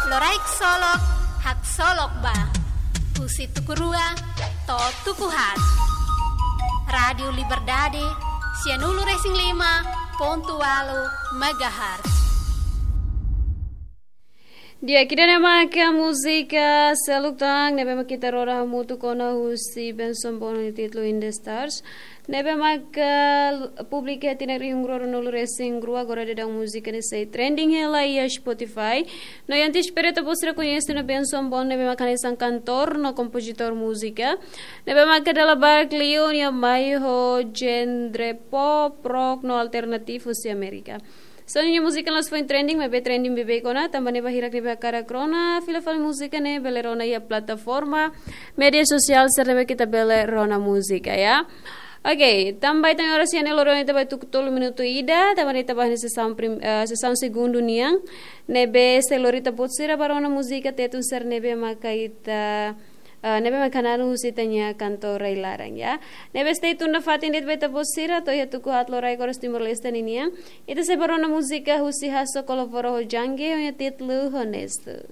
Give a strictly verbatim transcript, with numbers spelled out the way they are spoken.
Loraik solok, haksolok ba. Husi tuku rua to'o tuku haat. Rádiu Liberdade, sianulu-resin-lima pontu ualu megahertz. Di'ak, ida-ne'e maka múzika seluk tan ne'ebé mak ita rona hamutuk ona husi Benson Bono nia títulu In the Stars. Ne'ebé maka publika iha tinan rihun rua ruanulu-resin-rua, agora daudaun múzika ne'e sei trending hela iha Spotify. No iha antes espera ita-boot sira koñese ona Benson Bono ne'ebé maka hanesan kantór no kompozitór múzika. Ne'ebé maka dala barak liu nia mai ho genre pop, rock no alternativu husi Amérika. Só ninia múzika la'ós foin trending, maibé trending beibeik ona, tanba ne'e ba hirak ne'ebé hakarak rona fila fali múzika ne'e bele rona iha plataforma média sosiál sira ne'ebé ita bele rona múzika, ya. Oke, tanba ita-nia oras iha ne'e loroloron ita ba tuku tolu minutu ida, tanba ne'e ita ba iha sesaun prim-, eh, sesaun segundu nian, ne'ebé sei lori ita-boot sira ba rona múzika Tetun sira ne'ebé maka ita, eh, ne'ebé maka hananu husi ita-nia kantór rai-laran, ya. Ne'ebé stay tune nafatin de'it ba ita-boot sira, to'o iha tuku haat loraik oras Timor-Leste ninian. Ita sei ba rona múzika husi Hasso kolabora ho Djange, ho nia títulu Honesto.